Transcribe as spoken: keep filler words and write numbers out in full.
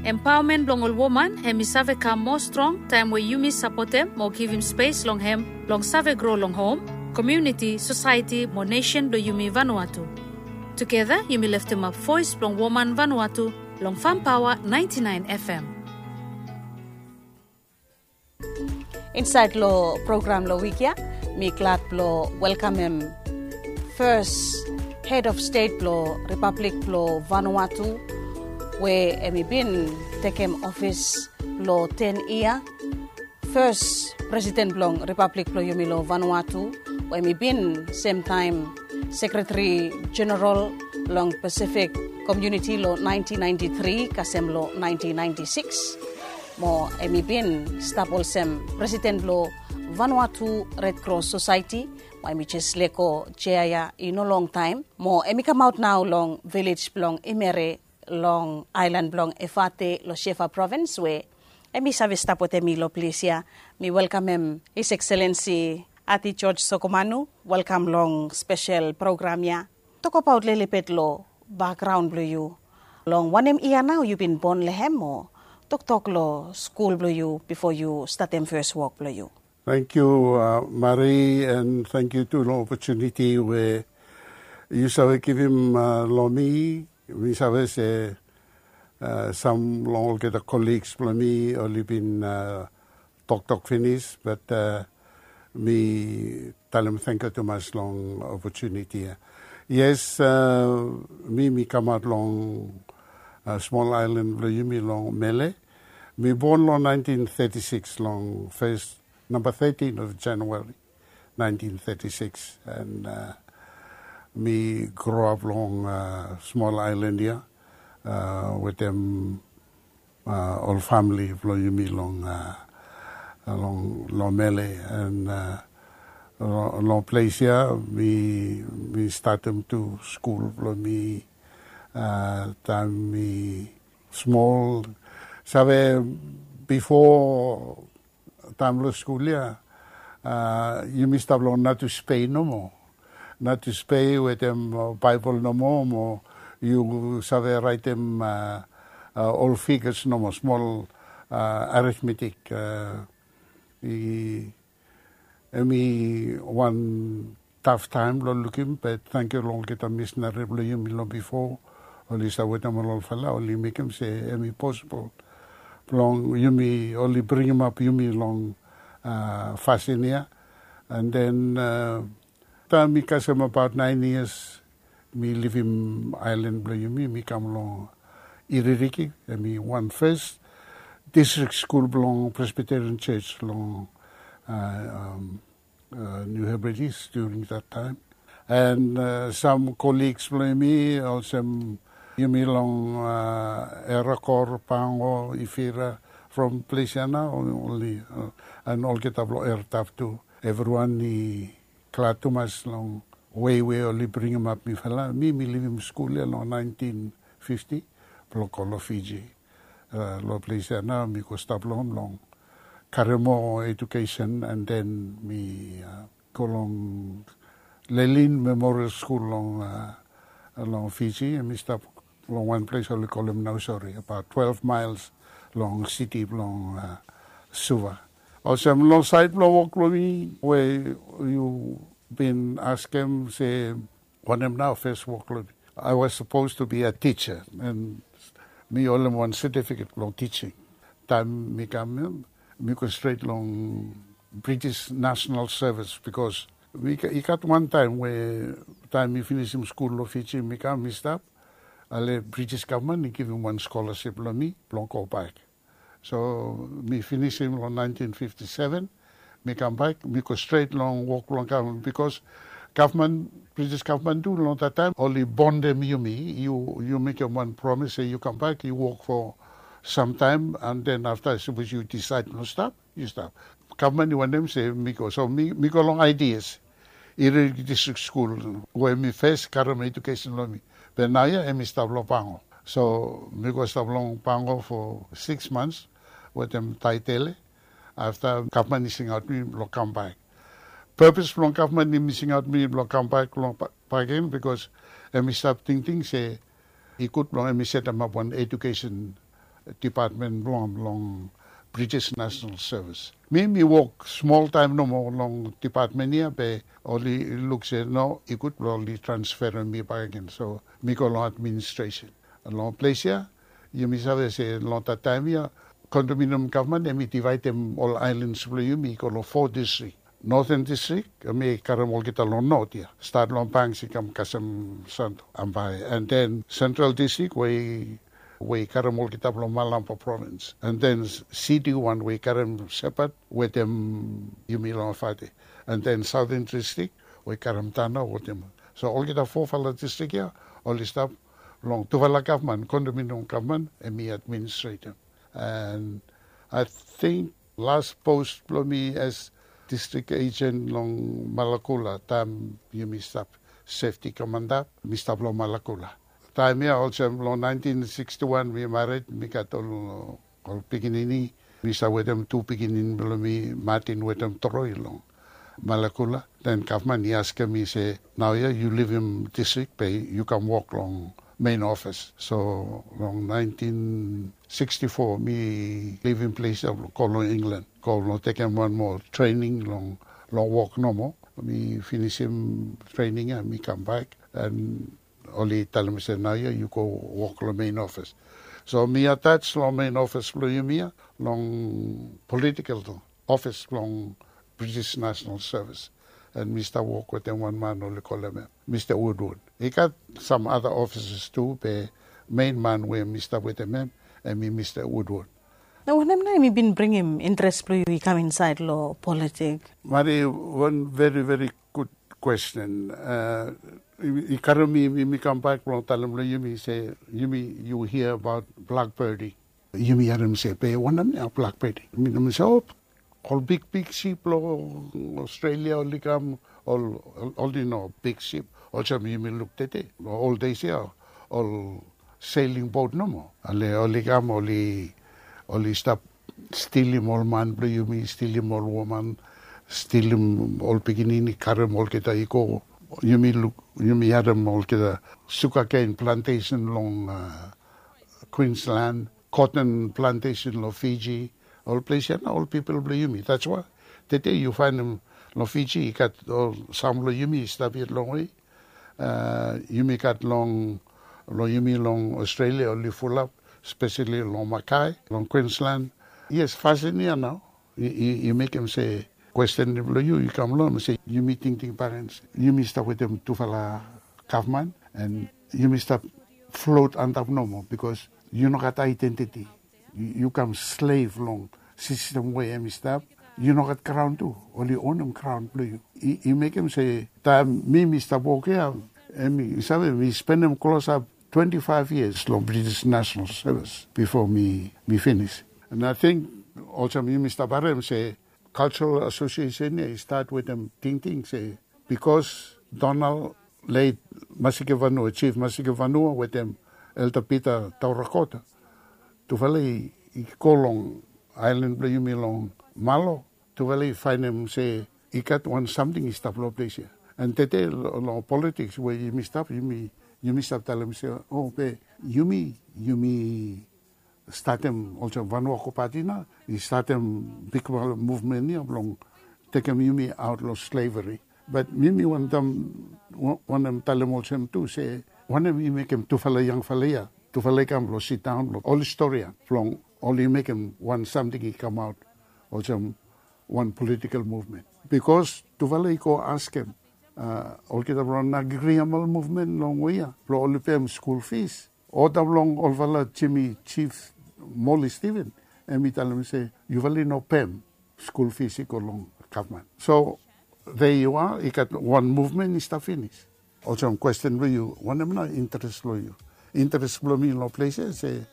Empaomen blong ol woman hem i save kam moa strong taem we yumi sapotem mo givim spes long hem blong save gro long hom, komuniti, sosaeti mo nesen blong yumi Vanuatu. Tugeta yumi leftemap voes blong woman Vanuatu long Fam Paoa naenti naen FM. Insaed long program long wik ya, mi glad blong welkamem fes hed of stet blong Ripablik blong Vanuatu, we hem i bin tekem ofis blong ten yia, fes presiden blong Ripablik blong yumi long Vanuatu, we hem i bin semtaem sekretari jeneral long Pasifik Komuniti long naenti naenti tri kasem long naenti naenti sikis. Mo hem i bin stap olsem presiden blong Vanuatu Red Cross Society, mo hem i jes lego jea ya i no longtaem, mo hem i kamaot nao long vilej blong Imere long aelan blong Efate long Shefa provins, we hem i save stap wetem mi long ples ya. Mi welkamem His Excellency Ati George Sokomanu. Welkam long spesel program ya. Tokbaot lelebet long bakgraon blong yu. Long wanem yia nao yu bin bon long hem, o toktok long skul blong yu bifo yu statem fes wok blong yu? Tangkiu, Mari, and tangkiu tu long opotuniti we yu save givim long mi. Mi save se sam long olgeta koligs blong mi oli bin toktok finis, bat mi talem tangkiu tumas long opotuniti ya. Yes, mi mi kamaot long smol aelan blong yumi long Mele. Mi bon long naentin teti sikis long fes namba tetin of Januari naentin teti sikis, and mi groap long smol aelan ya wetem ol famili blong yumi long long Mele, and long ples ya mi mi statem tu skul blong mi taem mi smol. Save, bifo taem long skul ya yumi stap long Natus Pei nomo. Natus Pei wetem Baebol nomo, mo yu save raetem ol figas nomo, smol arithmetik. Hem i wan taf taem blong lukim, bat tangkiu long olgeta misinari blong yumi long bifo, oli stap wetem ol olfala, oli mekem se hem i posibol blong yumi, oli bringimap yumi long fasin ya. And then taem mi kasem abaot naen yias, mi livim aelan blong yumi, mi kam long Iririki, hem i wan fes distrik skul blong Presbyterian Church long New Hebrides during that time. And sam koligs blong yumi olsem yumi long Erakor, Pango, Ifira, from ples ya nao oli, and olgeta blong Ertaf tu. Evriwan i glad tumas long wei we oli bringimap mifala. Mi mi livim skul ya long naentin fifti blong go long Fiji. Long ples ya nao mi go stap long hem blong karem moa edukesen, and then mi go long Lelin Memorial Skul long long Fiji, mi stap long wan ples oli kolem Nausori, abaot twelve maels long siti blong Suva. Olsem long saed blong wok blong mi we yu bin askem se wanem nao fes wok blong mi. I was supposed to be a teacher, and mi holem wan setifiket blong teaching. Taem mi kam ya, mi go stret long British National Service, bikos i gat wan taem we taem mi finisim skul long Fiji, mi kam, mi stap, ale British gavman i givim wan skolasip long mi blong go bak. So mi finisim long naentin fifti seven, mi kambak, mi go stret long wok blong gavman, bikos gavman, British gavman tu long that taem oli bondem yumi. Yu, yu mekem wan promis se yu kambak, yu wok fo samtaem, and then afta sapos yu disaed blong stap, yu stap. Gavman i wantem se mi go, so mi, mi go long I D S, Iririki Distrik Skul, we mi fes karem edukesen blong mi. Be naoia hemi stap long Pango. So mi go stap long Pango fo sikis mans wetem Taitele. Afta gavman i singaot mi blong kambak. Pepes blong gavman hemi singaot mi blong kambak long Pagen, bikos hemi stap tingting se i gud blong hemi setemap wan edukesen dipatmen blong long British National Service. Mi mi wok smol taem nomo long dipatmen ia be oli luk se no i gud blong oli transferem mi bakegen. So mi go long administration. Long ples ia yumi save se long dat taem ia kondominium gavman em i divaedem ol aelans blong yumi i go long fo distrik. Noten distrik em i karem olgeta long not ia, stat long Banks i kam kasem Santo, Ambae, and then sentral distrik we i we i karem olgeta blong Malampa provins, and then City wan we i karem Sepat wetem yumi long Fate, and then Southern distrik we i karem Tana wetem. So olgeta fofala distrik ia oli stap long tufala gavman, kondominium gavman em i administretem. And I think las pos blong mi as distrik ejen long Malakula taem yumi stap sefti komanda, mi stap long Malakula. Taem ia olsem long naentin siksti wan mi mared, mi gat ol ol pikinini. Mi stap wetem tu pikinini blong mi, Martin wetem Troy, long Malakula. Den gavman i askem mi se, naoia yu livim distrik be yu kam wok long mein ofis. So long naentin siksti fo mi livim ples ia blong go long Inglan, go blong tekem wan moa trening long long wok nomo. Mi finisim trening ia mi kambak, and oli talem se naoia yu go wok long mein ofis. So mi atas long mein ofis blong yumi ia long politikel ofis blong British National Service, and mi stap wok wetem wan man oli kolem em Mista Woodward. I gat sam ada ofisas tu be mein man we mi stap wetem em em i Mista Woodward. Na wanem nao em i bin bringim interes blong yu i kam insaed long politik? Mari, wan veri veri gud kwesten. I karem mi mi kambak blong talem long yumi se yumi yu hia abaot blakbedi. Yumi harem se be wanem nao blakbedi? Mi no mi se o, ol bigbig sip long Australia oli kam, ol oli no big sip olsem yumi luk tede. Ol deis ia ol sailing bot nomo. Ale oli kam oli oli stap stilim ol man blong yumi, stilim ol woman, stilim ol pikinini, karem olgeta i go. Yumi luk, yumi harem olgeta sugaken plantesen long Queensland, koten plantesen long Fiji. Ol ples ia nao ol pipol blong yumi. That's why tede yu faenem long Fiji i gat ol sam blong yumi i stap yet longwe. Yumi gat long long yumi long Australia oli fulap, speseli long Mackay, long Queensland. Yes, fasin ia nao i mekem se kwesten blong yu i kam long se yumi tingting parens, yumi stap wetem tufala gavman, and yumi stap flot antap nomo, bikos yu no gat aedentiti. Yu kam slev long sistem we em i stap. Yu no gat graon tu, oli onem graon blong yu. I mekem se taem mi mi stap wok ia, em i save mi spenem klosap twenti faev yias long British National Service bifo mi mi finis. And I think olsem yumi stap harem se Cultural Association ia i stat wetem tingting se bikos Donald, leit Masike Vanua, Chief Masike Vanua wetem Elder Peter Taurakota, tufala i go long aelan blong yumi long Malo, tufala i faenem se i gat wan samting i stap long ples ia. And tede long politiks we yumi stap, yumi stap talem se o, be yumi yumi statem olsem Vanuako Pati nao i statem bigfala muvmen ia blong tekem yumi aot long sleveri. Bat mi mi wantem talem olsem tu se wanem i mekem tufala yangfala ia, tufala i kam blong sidaon blong oli storian blong oli mekem wan samting i kamaot olsem wan politikel muvmen. Bikos tufala i go askem olgeta blong Nagriamal muvmen longwe ia blong oli pem skul fis. Oda blong olfala Jimi, Jif Moli Stiven, em i talem se yufala i no pem skul fis i go long gavman. So there you are, i gat wan muvmen i stap finis. Olsem kwesten blong yu, wanem nao interes blong yu? Interes blong mi long ples ia se